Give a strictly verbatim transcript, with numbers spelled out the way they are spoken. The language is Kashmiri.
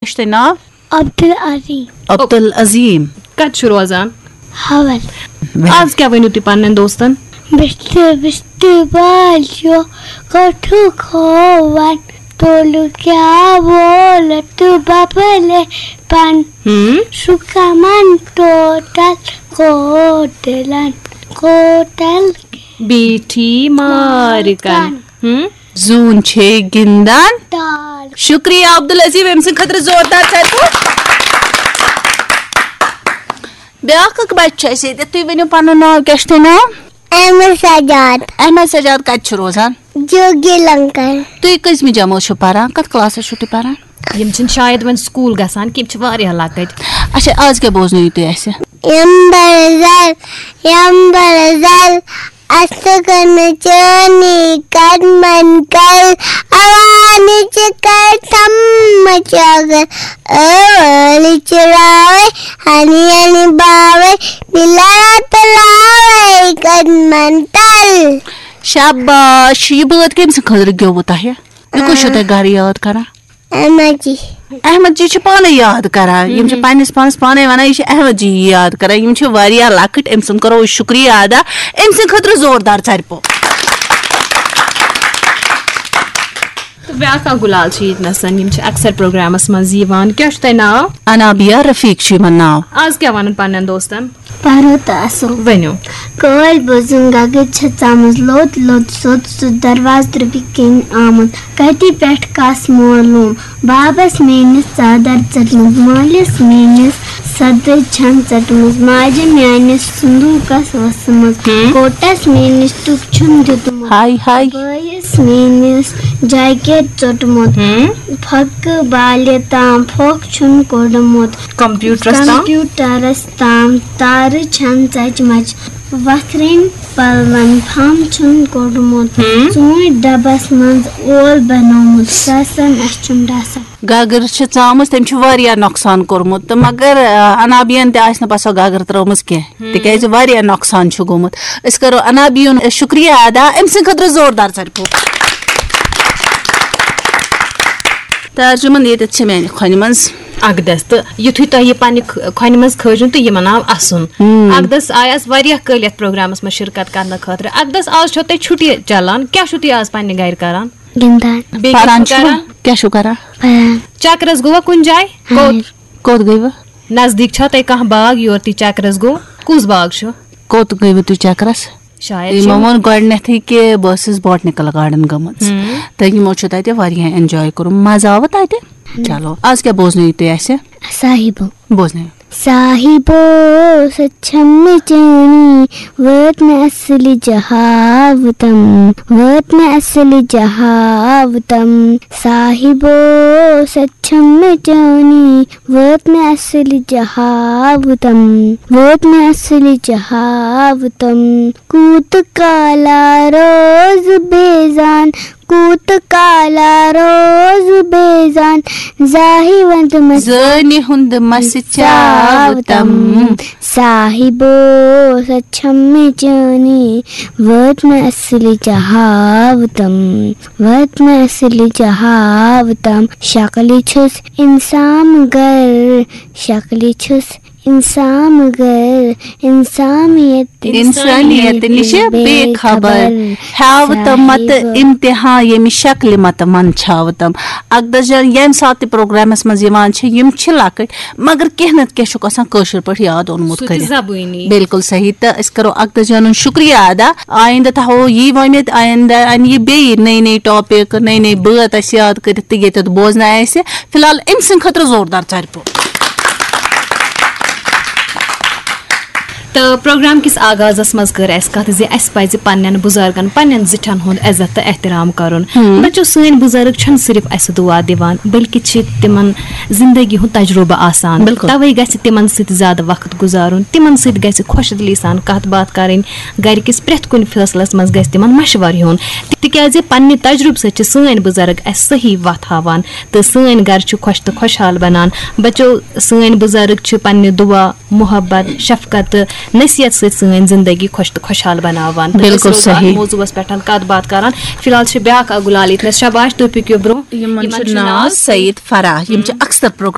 کیٛاہ چھُ تۄہہِ ناو؟ عبدالعظیم۔ عبدالعظیم۔ کَتہِ چھُ روزان؟ حول۔ آز کیٛاہ ؤنِو تُہۍ پننٮ۪ن دوستن؟ بِستہٕ بِستہٕ بالیو کَٹھُک ہووَن، تولُک کیٛاہ وولہٕ تہٕ بَبلے پَن۔ ہم۔ سُہ کَمَن ٹوٹل کوٹلَن کوٹل بیٖٹھی مارکن۔ ہم۔ زوٗن چھے گِنٛدان۔ تال۔ شُکریہ عبدالعظیم، أمۍ سٕنٛدِ خٲطرٕ زوردار ژَرِ پوٚپ۔ بیٛاکھ اکھ بَچہٕ چھُ اَسہِ ییٚتہِ۔ تُہۍ ؤنِو پَنُن ناو، کیٛاہ چھُ تۄہہِ ناو؟ احمد سجاد۔ احمد سجاد کَتہِ چھُ روزان؟ جوگی لنکر۔ تُہۍ کٔژمہِ جمٲژ چھِو پَران؟ کَتھ کلاسَس چھِو تُہۍ پَران؟ یِم چھِنہٕ شاید وۄنۍ سکوٗل گژھان کینٛہہ، یِم چھِ واریاہ لۄکٕٹۍ۔ اچھا، آز کیٛاہ بوزنٲیِو تُہۍ اَسہِ؟ یمبر زل، یمبر زل، اَسہٕ کَنہٕ چٲنی قدمن کل، عوانہِ چھِ کر تھم مچاگر، ٲلۍ چراوے، ہنی ہنی باوے، دِلارا تلاوے قدمن تل۔ شاباش، یہِ بٲتھ کٔمۍ سٕنٛدِ خٲطرٕ گیوٚوٕ تۄہہِ؟ یہِ کُس چھُو تۄہہِ گرٕ یاد کران؟ احمد جی۔ احمد جی چھِ پانَے یاد کران، یِم چھِ پننِس پانَس پانَے وَنان، یہِ چھِ احمد جی یاد کران۔ یِم چھِ واریاہ لۄکٕٹۍ، أمۍ سُنٛد کرو أسۍ شُکریہ ادا، أمۍ سٕنٛدِ خٲطرٕ زوردار ژَرِ پوٚپ۔ تہٕ بیٛاکھ اکھ گُلال چھِ ییٚتہِ نَسَن، یِم چھِ اکثر پروگرامَس منٛز یِوان۔ کیٛاہ چھُ تۄہہِ ناو؟ انابیہ رفیق چھُ یِمَن ناو۔ آز کیٛاہ وَنَن پننٮ۪ن دوستَن؟ پَرو تہٕ اَسو۔ ؤنِو۔ کٲلۍ بوٗزُم گَگٕر چھےٚ ژامٕژ لوٚت لوٚت سیوٚد سیوٚد دروازٕ دربہِ کِنۍ آمُت۔ کَتہِ پٮ۪ٹھ کَس مولوٗم؟ بابَس میٛٲنِس ژادر ژٔٹمٕژ، مٲلِس میٛٲنِس صدٕر چھَن ژٔٹمٕژ، ماجہِ میٛانِس صندوٗقَس ؤژھمٕژ، ہم۔ کوٹَس میٛٲنِس ٹُک چھُن دیُتمُت، ہاے ہاے۔ بٲیِس میٛٲنِس جاکیٹ ژوٚٹمُت، ہم۔ پھۄکہٕ بالہِ تام پھۄکھ چھُن کوٚڑمُت، کمپیوٹرس تام۔ کمپیوٹرس تام تارٕ چھَن ژَچمَژ، وَتھرِنۍ پَلوَن پھَم چھُن کوٚڑمُت، ہم۔ ژوٗنٛٹھۍ ڈَبَس منٛز اول بَنومُت، ساسَن اَسہِ چھُن ڈَسان۔ گگٕر چھِ ژامٕژ، تٔمۍ چھُ واریاہ نۄقصان کوٚرمُت، تہٕ مگر، آ، انابیَن تہِ آسہِ نہٕ پَتہٕ سۄ گگٕر ترٲومٕژ کینٛہہ، ہم۔ تِکیٛازِ واریاہ نۄقصان چھُ گوٚمُت۔ أسۍ کَرو انابیُن شُکریہ ادا، أمۍ سٕنٛدِ خٲطرٕ زوردار ژَرِ پوٚپ۔ تہٕ ارجُمن، ییٚتٮ۪تھ چھِ میٛانہِ کھۄنہِ منٛز اقدس، تہٕ یُتھُے تۄہہِ یہِ پننہِ کھ-، کھۄنہِ منٛز کھٲجُن تہٕ یِمن آو اَسُن۔ ہم۔ اقدس آیہِ آز واریاہ کٲلۍ یَتھ پروگرامس منٛز شرکت کرنہٕ خٲطرٕ۔ اقدس، آز چھو تۄہہِ چھُٹی چلان، کیٛاہ چھِو تُہۍ آز پننہِ گرِ کران؟ گِنٛدان۔ بیٚیہِ کیٛاہ پران چھِو چھِو؟ کران؟ کیٛاہ چھِو کران؟ پران۔ چکرس گوٚوا کُنہِ جایہِ؟ ہاں۔ کوٚت؟ کوٚت گٔیوٕ؟ نزدیٖک چھا تۄہہِ کانٛہہ باغ یور تُہۍ چکرس گوٚو؟ کُس باغ چھُ؟ کوٚت گٔیوٕ تُہۍ چکرس؟ شاید یِمو چھِ ووٚن گۄڈٕنیتھٕے کہِ بہٕ ٲسٕس بوٹنیکل گارڈن گٔمٕژ، ہم۔ تہٕ یِمو چھُ تتہِ واریاہ enjoy کوٚرمُت، مزٕ آوٕ تتہِ؟ چلو، آز کیٛاہ بوزنٲیِو تُہۍ اَسہِ؟ صاحبو۔ بوزنٲیِو۔ صاحبو، سۄ چھم نہٕ چٲنی، وٲت مےٚ اصلٕچ ہاوتم، وٲت مےٚ اصلٕچ ہاوتم۔ صاحبو، سۄ چھم نہٕ چٲنی، وٲت مےٚ اصلٕچ ہاوتم، وٲت مےٚ اصلٕچ ہاوتم۔ کوٗت کالا روز بیزان، کوٗت کالا روز بیزان، زاہی وند مس زٲنہِ ہُنٛد مس چاوتم۔ صاحبو، سۄ چھم نہٕ چٲنی، وٲت مےٚ اصلٕچ ہاوتم، وٲت مےٚ اصلٕچ ہاوتم۔ شکلہِ چھُس انسان گر، شکلہِ چھُس انسان گر، انسانیت انسانیت نِش بے خبر۔ ہیاوتم مت صاحب۔ امتحان ییٚمہِ شکلہِ مت من چھاوتم۔ اقدس جان ییٚمہِ ساتہٕ تہِ پروگرامس منٛز یِوان چھِ، یِم چھِ لۄکٕٹۍ، مگر کینٛہہ نتہٕ کینٛہہ چھُکھ آسان کٲشِر پٲٹھۍ یاد اوٚنمُت سُہ تہِ کٔرِتھ۔ زبٲنی۔ بالکل صحیح۔ تہٕ أسۍ کرو اقدس جانُن شُکریہ ادا۔ آیندٕ تھاوو یی وۄمید، آیندٕ انہِ یہِ بیٚیہِ نٔے نٔے ٹاپک، نٔے نٔے بٲتھ اَسہِ یاد کٔرِتھ تہٕ ییٚتٮ۪تھ بوزناوِ اَسہِ۔ فی الحال أمۍ سٕنٛدِ خٲطرٕ زوردار ژَرِ پوٚپ۔ تہٕ پروگرام کِس آغازس منٛز کٔر اَسہِ کَتھ زِ اَسہِ پَزِ پننٮ۪ن بُزرگن، پننٮ۪ن زِٹھٮ۪ن ہُنٛد عزت تہٕ احترام کرُن۔ ہم۔ بچو، سٲنۍ بُزرگ چھِنہٕ صرف اَسہِ دُعا دِوان، بلکہِ چھِ تِمن زندگی ہُنٛد تجربہٕ آسان۔ بالکل۔ توے گژھِ تِمن سۭتۍ زیادٕ وقت گُزارُن، تِمن سۭتۍ گژھِ خۄش دِلی سان کَتھ باتھ کرٕنۍ، گرِ کِس پرٛٮ۪تھ کُنہِ فٲصلس منٛز گژھِ تِمن مشورٕ ہیوٚن، تِکیازِ پننہِ تجربہٕ سۭتۍ چھِ سٲنۍ بُزرگ اَسہِ صحیح وَتھ ہاوان تہٕ سٲنۍ گرٕ چھِ خۄش تہٕ خۄشحال بنان۔ بچو، سٲنۍ بُزرگ چھِ پننہِ دُعا، محبت، شفقت تہٕ نصیحت سۭتۍ سٲنۍ زندگی خۄش تہٕ خۄشحال بناوان۔ تہٕ أسۍ بِلکُل روزو اَتھ صحیح۔ موضوعس پٮ۪ٹھ کتھ باتھ کران۔ فی الحال چھِ بیٛاکھ اکھ گُلال ییٚتہِ نس۔ شاباش، تُہۍ پٔکِو برونٛہہ۔ یِمن یِمن چھُ چھُ ناو ناو سعید فرح، یِم چھِ اکثر پروگرام